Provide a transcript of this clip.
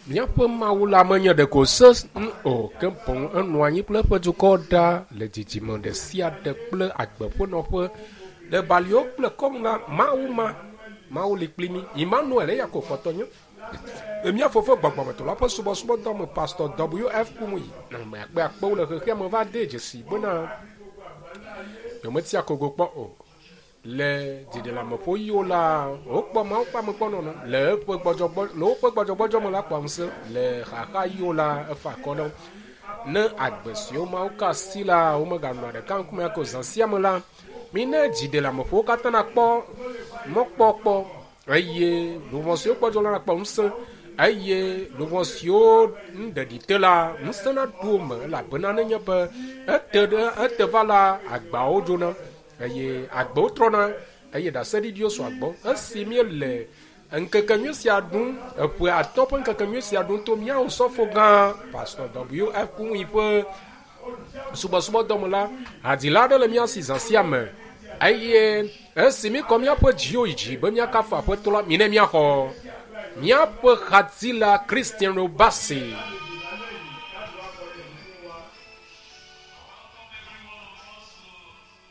Míaƒe Mawu la menye ɖeko se o, ke boŋ enɔ anyi kple eƒe dukɔ ɖa le dzidzime ɖe sia ɖe kple agbe ƒe nɔƒe. Le baliwo kple kɔnu la, Mawu ma, Mawu li kpli mí. Emmanuel eya ko kpɔtɔ nye. Le mía fofo gbɔgbɔmetɔ la ƒe subɔsubɔdɔ me, Pastor W.F. Kumuyi, ame akpeakpewo le xexea me va de dzesi bena yewometia kogo kpɔ o. Le dziɖeleameƒoɣiwo la, wokpɔ Mawu ƒe amegbɔnɔnɔ le eƒe gbɔdzɔgbɔ, le woƒe gbɔdzɔgbɔdzɔ me la kpɔa ŋusẽ. Le xaxaɣiwo la, efa akɔ na wo. Ne agbe siwo Mawu ka asi la, womeganɔa ɖeka ŋkume ake o zã sia me la, mina dziɖeleameƒowo katã nakpɔ mɔkpɔkpɔ eye luʋɔ siwo gbɔdzɔ la nakpɔ ŋusẽ eye luʋɔ siwo nuɖeɖi te la, ŋusẽ naɖo wo me elabena nenye be ete ɖe ete va la, agbawo dzona eye agbewo trɔna eye ɖaseɖiɖiwo sɔa gbɔ. Esi míele ŋkekenyui sia ɖum, eƒe atɔ̃ ƒe ŋkekenyui sia ɖum to mía Osɔfo gã Pastor W.F. Kumuyi ƒe subɔsubɔdɔ me la, hadzila aɖe le mía si zã sia me eye esi míkɔ míaƒe dziwo yi dzi be míakafu Aƒetɔ la, minɛ míaxɔ míaƒe hadzila Christian Obasi.